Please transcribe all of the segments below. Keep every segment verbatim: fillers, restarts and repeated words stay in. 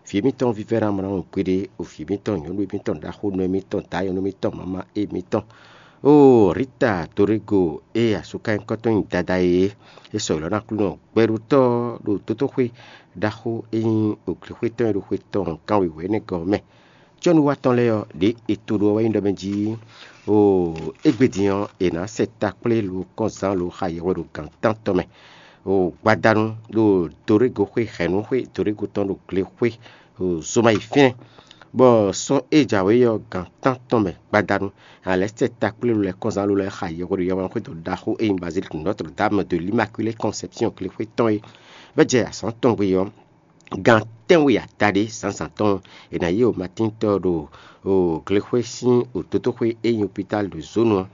Vǐ émítɔn vívɛ́ná mlɔ́ kpéɖé, o vǐ émítɔn nyɔ̌nu émítɔn ɖaxónɔ émítɔn, dǎ nyɔ̌nu émítɔn, mama émítɔn, o Rita Torego e asúkanyíkɔ tɔn nyí Dada e é sɔ́ ylɔ́ ná Aklúnɔ gbɛɖótɔ́ ɖo dótóxwé ɖaxó e nyí oglěxwé tɔn e ɖo xwe tɔn kanwekwe énɛ́ gɔ́ ɔ́ mɛ. Cɔ́nuwatɔ́ lɛ́ɛ ɔ́, ɖě è to ɖó ɔ́ wɛ nyí ɖɔ mɛ jí o égbé din ɔ́, è nǎ sɛ takplé lo kɔ́nzán lo xa yɛhwe ɖo gǎn tántɔn mɛ. O gbadanu ɖo Dorego xwé hɛ̌nnu xwé Dorego tɔn ɖo glexwé o zoma yi fínɛ́, bɔ sɔ́ e jǎwe ɔ́ gǎn tántɔn mɛ gbadanu. Alɛ̌ sɛ takplé lo lɛ́ɛ kɔ́nzán lo lɛ́ɛ xa yɛhwe ɖo yɛhweɖaxwédo ɖaxó e nyí Baziliki Notre Dame de l'Immaculée Conception glexwé tɔn é. Bɔ é jɛ azǎn tɔn gbe ɔ́, gan tɛ́nwe adaɖé zǎnzǎn tɔn, è nǎ yí o Matíntɔ́ ɖo glexwé sín òtótóxwé e nyí opitál ɖo zǒnu ɔ́,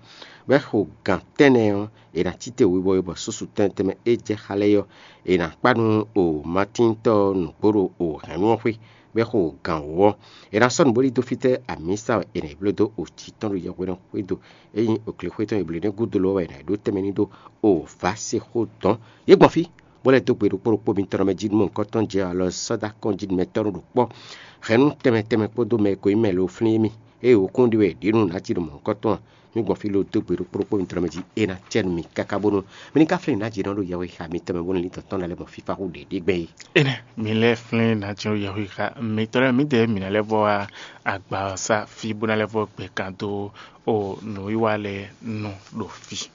bɔ é xo gan tɛ́nnɛ ɔ́, è nǎ cí te webɔ e bɔ súsu tɛnmɛ tɛnmɛ e jɛ xá lɛ́ɛ ɔ́, è nǎ kpá nú o Matíntɔ́ nǔgbó ɖo o hɛ̌nnu ɔ́ xwé, bɔ é xo gan wǒ ɔ́, è nǎ sɔ́ nǔ bó ɖidó fítɛ́ amǐsa wɛ è nǎ yi bló dó o jǐ tɔn ɖo yɛhweɖɛxwédo e nyí oglexwé tɔn e blǒ nɛ́ gúdo lɔ́ wɛ è nǎ yi ɖó tɛnmɛ ní ɖó o vǎsexó dɔ̌n. Yě gbɔn fí, bó lɛ́ dó gbe ɖokpó ɖokpó mitɔn mɛ jí nú mɔ̌hunkɔtɔn jɛ alɔ sɔ́ dó akɔ́njí mɛtɔ́ ɖokpó hɛ̌nnu tɛnmɛ tɛnmɛ kpódó mɛ e ko nyí mɛ lo flín émí, ée wǒkún ɖi wɛ è ɖǐ nú nǎ jí ɖo mɔ̌hunkɔtɔn ǎ. Mì gbɔn fí lo dó gbe ɖokpó ɖokpó mitɔn mɛ jí, é ná cɛ nú mi káká bónú mi ní ka flín nǎ jí nɔ ɖo yɛhwexa mitɔn mɛ bónú ní tɔn tɔn ná lɛ́ mɔ fífá hú ɖě ɖé gbɛn é. Énɛ́, mi lɛ́ flín nǎ jí ɖo yɛhwexa mitɔn lɛ́ɛ, mǐdɛɛ mǐ ná lɛ́ vɔ wá agba ɔ́ sá fí bó ná lɛ́ vɔ gbɛ kan dó o nǔwiwa lɛ́ɛ nu ɖo fí.